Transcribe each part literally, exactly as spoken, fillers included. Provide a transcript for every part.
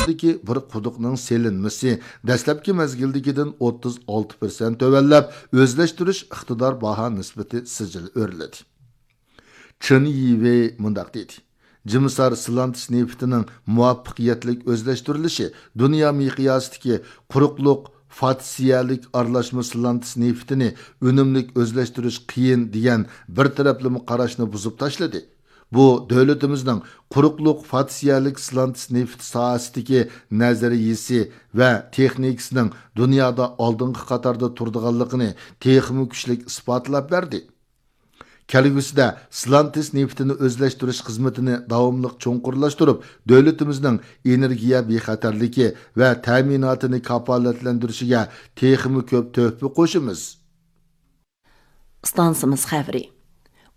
تىپتىكى بىر قۇدۇقنىڭ سېلىنمىسى دەسلەپكى مەزگىلدىكىدىن ئوتتۇز ئالتە پىرسەنت تۆۋەنلەپ، ئۆزلەشتۈرۈش ئىقتىدار باھا نىسبىتى سىجىل ئۆرلىدى. چېن يىۋېي مۇنداق دېدى: جىمىسار سىلانتىس نېفىتىنىڭ مۇۋەپپەقىيەتلىك ئۆزلەشتۈرۈلۈشى دۇنيا مىقياسىدىكى قۇرۇقلۇق فاتسىيەلىك ئارىلاشما سىلانتىس نېفىتىنى ئۈنۈملۈك ئۆزلەشتۈرۈش قىيىن دېگەن بىر تەرەپلىمە قاراشنى بۇزۇپ تاشلىدى. بۇ دۆلىتىمىزنىڭ قۇرۇقلۇق فاتسىيەلىك سىلانتىس نېفىتى ساھەسىدىكى نەزەرىيىسى ۋە تېخنىكىسىنىڭ دۇنيادا ئالدىنقى قاتاردا تۇرىدىغانلىقىنى تېخىمۇ كۈچلۈك ئىسپاتلاپ بەردى. كەلگۈسىدە سىلانتىس نېفىتىنى ئۆزلەشتۈرۈش خىزمىتىنى داۋاملىق چوڭقۇرلاشتۇرۇپ، دۆلىتىمىزنىڭ ئېنېرگىيە بىخەتەرلىكى ۋە تەمىناتىنى كاپالەتلەندۈرۈشىگە تېخىمۇ كۆپ تۆھپە قوشىمىز. ئىستانسىمىز خەۋىرى.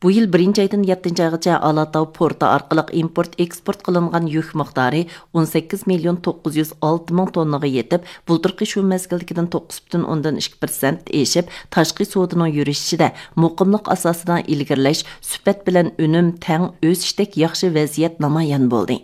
بۇ يىل بىرىنچى ئايدىن يەتتىنچى ئايغىچە ئالاتاۋ پورتى ئارقىلىق ئىمپورت ئېكسپورت قىلىنغان يۈك مىقدارى ئون سەككىز مىليون توققۇز يۈز ئالتە مىڭ توننىغا يېتىپ، بۇلتۇرقى شۇ مەزگىلدىكىدىن توققۇز پۈتۈن ئوندىن ئىككى پىرسەنت ئېشىپ، تاشقى سودىنىڭ يۈرۈشۈشىدە مۇقىملىق ئاساسىدا ئىلگىرىلەش، سۈپەت بىلەن ئۈنۈم تەڭ ئۆسۈشتەك ياخشى ۋەزىيەت نامايان بولدى.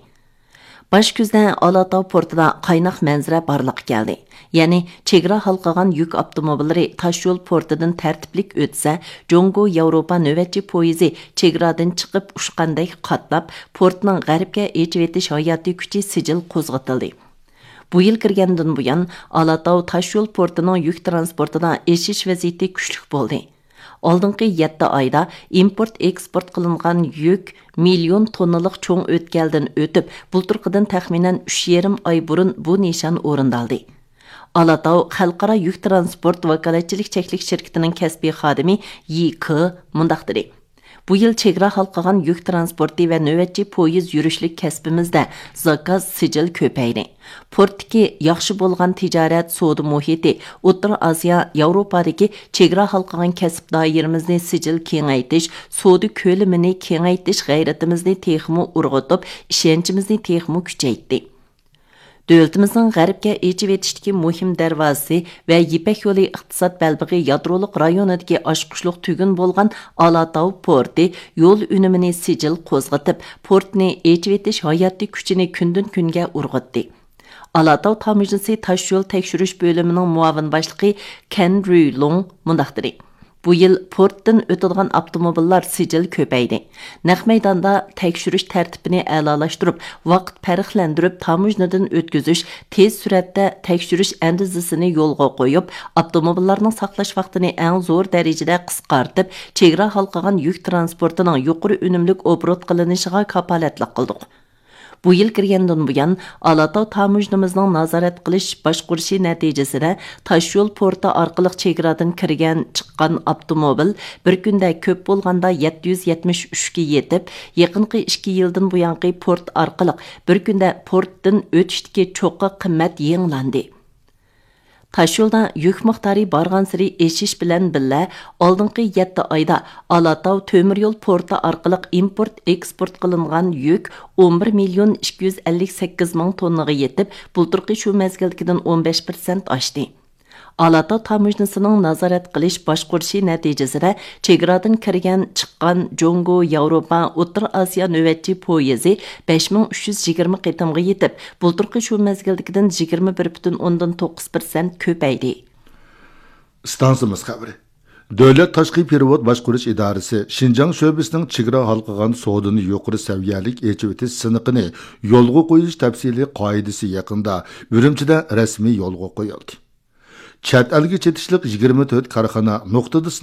باش كۈزدە ئالاتاۋ پورتىدا قايناق مەنزىرە بارلىققا كەلدى. يەنى چېگرا ھالقىغان يۈك ئاپتوموبىللىرى تاشيول پورتىدىن تەرتىپلىك ئۆتسە، جۇڭگو ياۋروپا نۆۋەتچى پويىزى چېگرادىن چىقىپ ئۇچقاندەك قاتناپ، پورتنىڭ غەربكە ئېچىۋېتىش ھاياتىي كۈچى سىجىل قوزغىتىلدى. بۇ يىل كىرگەندىن بۇيان، ئالاتاۋ تاشيول پورتىنىڭ يۈك تىرانسپورتىدا ئېشىش ۋەزىيىتى كۈچلۈك بولدى. ئالدىنقى يەتتە ئايدا ئىمپورت ئېكسپورت قىلىنغان يۈك مىليون توننىلىق چوڭ ئۆتكەلدىن ئۆتۈپ، بۇلتۇرقىدىن تەخمىنەن ئۈچ يېرىم ئاي بۇرۇن بۇ نىشان ئورۇندالدى. ئالاتاۋ خەلقئارا يۈك تىرانسپورت ۋاكالەتچىلىك چەكلىك شىركىتىنىڭ كەسپىي خادىمى يى كې مۇنداق دېدى: بۇ يىل چېگرا ھالقىغان يۈك تىرانسپورتى ۋە نۆۋەتچى پويىز يۈرۈشلۈك كەسپىمىزدە زاكاز سىجىل كۆپەيدى. پورتتىكى ياخشى بولغان تىجارەت سودا مۇھىتى ئوتتۇرا ئاسىيا، ياۋروپادىكى چېگرا ھالقىغان كەسىپ دائىرىمىزنى سىجىل كېڭەيتىش، سودا كۆلىمىنى كېڭەيتىش غەيرىتىمىزنى تېخىمۇ ئۇرغۇتۇپ، ئىشەنچىمىزنى تېخىمۇ كۈچەيتتى. دۆلىتىمىزنىڭ غەربكە ئېچىۋېتىشتىكى مۇھىم دەرۋازىسى ۋە يىپەك يولى ئىقتىساد بەلبېغى يادرولۇق رايونىدىكى ئاچقۇچلۇق تۈگۈن بولغان ئالاتاۋ پورتى يول ئۈنۈمىنى سىجىل قوزغىتىپ، پورتنى ئېچىۋېتىش ھاياتىي كۈچىنى كۈندىن كۈنگە ئۇرغۇتتى. ئالاتاۋ تاموژنىسى تاشيول تەكشۈرۈش بۆلۈمىنىڭ مۇئاۋىن باشلىقى كەن رۈيلۇڭ مۇنداق دېدى: بۇ يىل پورتتىن ئۆتىدىغان ئاپتوموبىللار سىجىل كۆپەيدى. نەق مەيداندا تەكشۈرۈش تەرتىپىنى ئەلالاشتۇرۇپ، ۋاقىت پەرقلەندۈرۈپ تاموژنىدىن ئۆتكۈزۈش، تېز سۈرئەتتە تەكشۈرۈش ئەندىزىسىنى يولغا قويۇپ، ئاپتوموبىللارنىڭ ساقلاش ۋاقتىنى ئەڭ زور دەرىجىدە قىسقارتىپ، چېگرا ھالقىغان يۈك تىرانسپورتىنىڭ يۇقىرى ئۈنۈملۈك ئوبوروت قىلىنىشىغا كاپالەتلىك قىلدۇق. بۇ يىل كىرگەندىن بۇيان، ئالاتاۋ تاموژنىمىزنىڭ نازارەت قىلىش باشقۇرۇشى نەتىجىسىدە، تاشيول پورتى ئارقىلىق چېگرادىن كىرگەن، چىققان ئاپتوموبىل بىر كۈندە كۆپ بولغاندا يەتتە يۈز يەتمىش ئۈچكە يېتىپ، يېقىنقى ئىككى يىلدىن بۇيانقى پورت ئارقىلىق بىر كۈندە پورتتىن ئۆتۈشتىكى چوققا قىممەت يېڭىلاندى. تاشيولدا يۈك مىقدارى بارغانسېرى ئېشىش بىلەن بىللە، ئالدىنقى يەتتە ئايدا ئالاتاۋ تۆمۈر يول پورتى ئارقىلىق ئىمپورت ئېكسپورت قىلىنغان يۈك ئون بىر مىليون ئىككى يۈز ئەللىك سەككىز مىڭ توننىغا يېتىپ، بۇلتۇرقى شۇ مەزگىلدىكىدىن ئون بەش پىرسەنت ئاشتى. ئالاتاۋ تاموژنىسىنىڭ نازارەت قىلىش باشقۇرۇشى نەتىجىسىدە، چېگرادىن كىرگەن، چىققان جۇڭگو، ياۋروپا، ئوتتۇرا ئاسىيا نۆۋەتچى پويىزى بەش مىڭ ئۈچ يۈز يىگىرمە قېتىمغا يېتىپ، بۇلتۇرقى شۇ مەزگىلدىكىدىن يىگىرمە بىر پۈتۈن ئوندىن توققۇز پىرسەنت كۆپەيدى. ئىستانسىمىز خەۋىرى. دۆلەت تاشقى پېرېۋوت باشقۇرۇش ئىدارىسى شىنجاڭ شۆبىسىنىڭ چېگرا ھالقىغان سودىنى يۇقىرى سەۋىيەلىك ئېچىۋېتىش سىنىقىنى يولغا قويۇش تەپسىلىي قائىدىسى يېقىندا ئۈرۈمچىدە رەسمىي يولغا قويۇلدى. چەت ئەلگە چېتىشلىق يىگىرمە تۆت كارخانا نۇقتىدا